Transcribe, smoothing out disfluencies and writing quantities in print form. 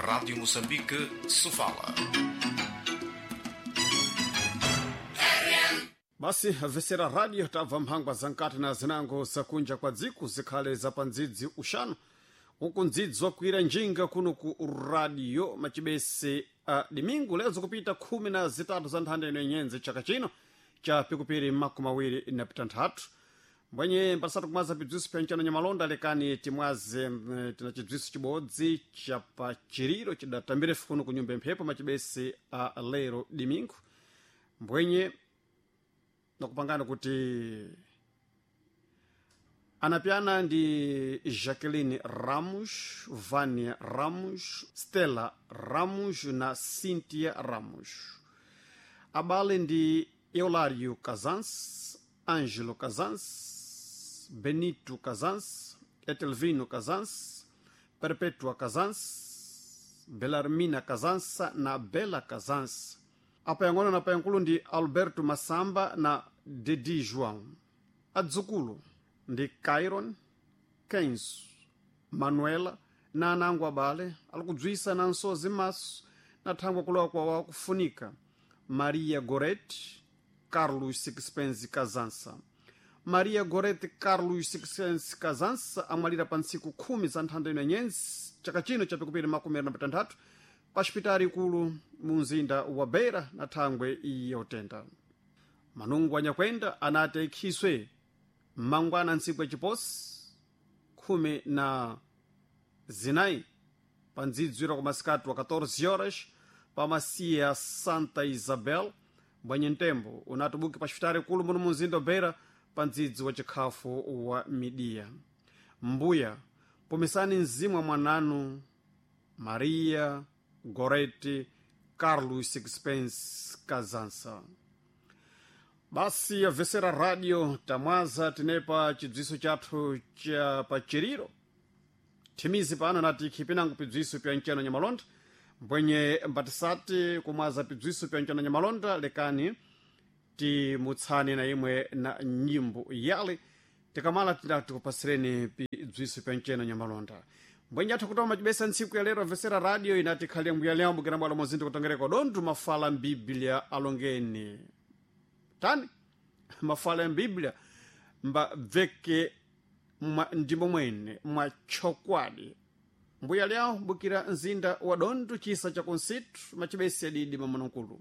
Rádio Moçambique, Sofala. Basi vesera radio, tabva mphangwa za nkati na zinango zakunja kwa dziko, zikhale za pandzidzi uxanu uku ndzidzi wakuira njinga kuno ku radio macibese a dimingu lezo kupita 13 za nthanda ino inyenze chaka chino cha pikupiri 20 na pitanthatu. Mbwenye mpasatu kumwaza bibziso pya ncano nyamalonda, lekani timwaze tina chibziso chibodzi cha pachiriro chidatambire kuno ku nyumba mphepo macibese a lero dimingu. Mbwenye nakupangana kuti anapyana ndi Jacqueline Ramos, Vania Ramos, Stella Ramos na Cynthia Ramos. Abale ndi Eulário Casans, Ângelo Casans, Benito Casans, Etelvino Casans, Perpetua Casans, Belarmina Casansa na Bela Casans. Apayang'ono na payankulu ndi Alberto Masamba na Dedi João. Adzukulu ndi Cairon, Kenzo, Manuela na anango abale alikudzwisa na nsozi maso na thangwa kulowa kwa wakufunika Maria Goret Carlos Sixpence Kazansa. Maria Goret Carlos Sixpence Kazansa amwalira pa ntsiku 10 za nthanda ino nyenzi chaka chino chapikupiri 26 pa xipitali ikulu mu mzinda wa Beira na thangwe yotenda. Manungu anyakwenda anati aikhiswe mmangwana ntsiku yaciposi 14 pa ndzidzwira kwa masikati wa 14 horas pa masiya Santa Isabel. Mbwenye mtembo unatubuki pa xipitali ikulu muno mu mzinda wa Beira pa ndzidzi wa chikhafu wa midiya. Mbuya pumisani mzimu wa mwananu Maria Goreti Carlos Sixpence Kazansa. Basi yabvesera radio, tamwaza tinepa chidziwiso chathu cha pachiriro thimizi pano nati khipinango pidziwiso pya nceno nyamalonda. Mbwenye mbatisati kumwaza pidziwiso pya nceno nyamalonda, lekani timutsane na imwe na nyimbo yale, tikamala tikupasireni pidziwiso pya nceno nyamalonda. Mbwenye athu kutoma macibesa ntsiku ya lero amvesera radio inati khali mbuya lyambo kina bwalo mozinto kutongereko dondu mafala mbiblia alongeni tani mafala ya mbiblia mbabveke mwa ndimo mwene mwa chokwadi. Mbuya lyawo bukira mzinda wa Dondu chisa cha kunsitu macibesi adidi mamunankulu.